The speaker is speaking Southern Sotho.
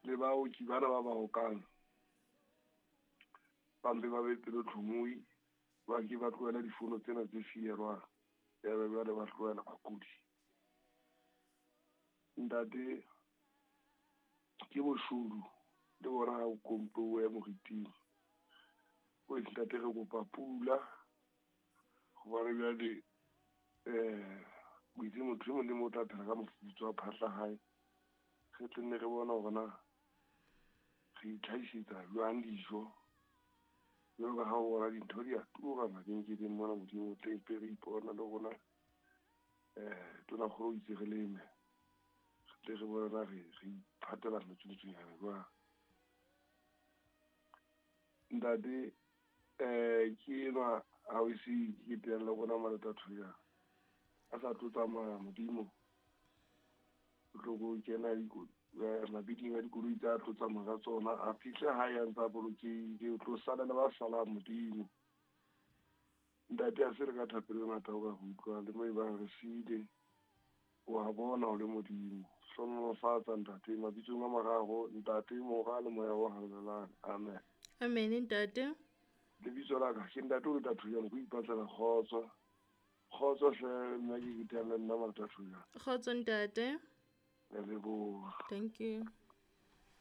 Le baoki bana ba ba okang ba mpe ba be pelotlhomohi, ba ke ba tlohele difono tsena tse fierwang, ya be jwale ba tlohela bakudi. Ntate, ke boshodu le bona ha o kompuwe moriting. O ntate, re kopa pula hobane jwale o itse motho e mong le mong o tla phela ka mofufutso wa phahla hae. Re tle nne re bone hore na re itlhahisetsa jwang dijo. Jwalo ka ha o bona dintho di a tura mabenkeleng mona, Modimo o tle mpe re ipona le rona. Tonakgolo o itse re leme, re tle re bone na re iphatela metsotsonyana jwang. Ntate, ke enwa ha o se ke teang le rona Malota Thoyana a sa tlo tsamaya, Modimo o tlo ko kena mabiding a dikoloi tsa tlo tsamaya ka tsona, a fihle hae a ntse a bolokehile, o tlo sala le ba salang, Modimo. Ntate, a se re ka thapelo e ngata o ka re utlwang le mo e bang re siile, wa bona o le Modimo. Hlohonolofatsa ntate, mabitsong a mararo, Ntate, Mora le Moya o Halalelang. Amen. Amen, ntate. Lebitso la ka ke Ntate o le Thoyana, ke ipatlela kgotso. Kgotso hle, nna ke ke le nna Malota Thoyana. Kgotso, ntate. Ke a leboha. Thank you.